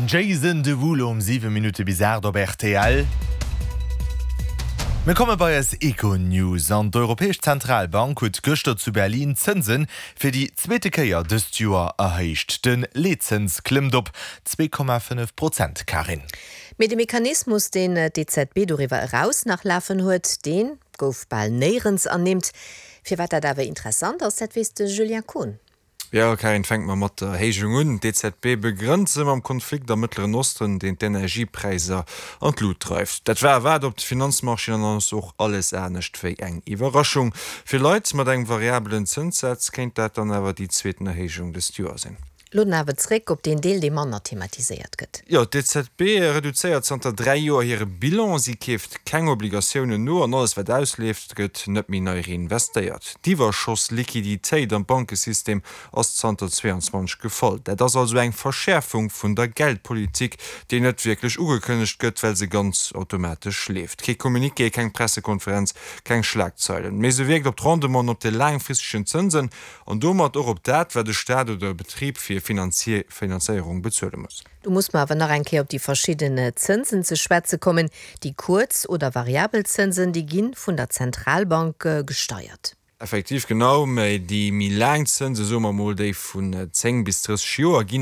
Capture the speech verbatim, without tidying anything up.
Jason Derulo um siwe Minutte bis aacht op rtl. Mir komme bei eis Econews an. D'Europäesch Zentralbank huet gëschter zu Berlin d'Zënse fir déi zweete Kéier dëst Joer erhéicht. De Leetzëns klëmmt op zwee Komma fënnef Prozent. Karin. Mee de Mechanismus, deen d'EZB doriwwer eraus nach lafen huet, dee gouf bal néierens ernimmt. Firwat dat awer interessant ass, dat weess de Julien Kohn. Jo, Karin, fänke mer mat der Erhéijung un. D'EZB begrënnt se mam Konflikt am Mëttleren Osten, deen d'Energiepräisser an d'Lut dreift. Dat war erwaart op de Finanzmarchéen an ass och alles anescht wéi eng Iwwerraschung. Fir Leit mat engem variabelen Zënssaz kéint dat dann awer déi zweeten Erhéijung dëst Joer sinn. Lo dann awer zréck op deen Deel, dee manner thematiséiert gëtt. Jo, d'EZB reduzéiert zanter dräi Joer hire Bilan. Si keeft keng Obligatiounen no an alles wat ausleeft, gëtt net méi nei reinvestéiert. D'Iwwerschoss-Liquiditéit am Bankesystem ass zanter zweeanzwanzeg gefall. Dat ass also eng Verschäerfung vun der Geldpolitik, déi net wierklech ugekënnegt gëtt, well se ganz automatesch leeft. Kee Communiqué, keng Pressekonferenz, keng Schlagzeilen. Mee se wierkt op d'Rendementen, op de laangfristegen Zënsen an domat och op dat, wat e Staat oder e Betrib fir Finanzéierung bezuele muss. Do muss mer awer nach eng Kéier op déi verschidden Zënsen ze schwätze kommen. Déi kuerz oder variabel Zënsen, déi gi vun der Zentralbank gesteiert. Effektiv, genau. Mä déi méi laang Zënse, soe mer mol déi vun zéng bis drësseg Joer, ginn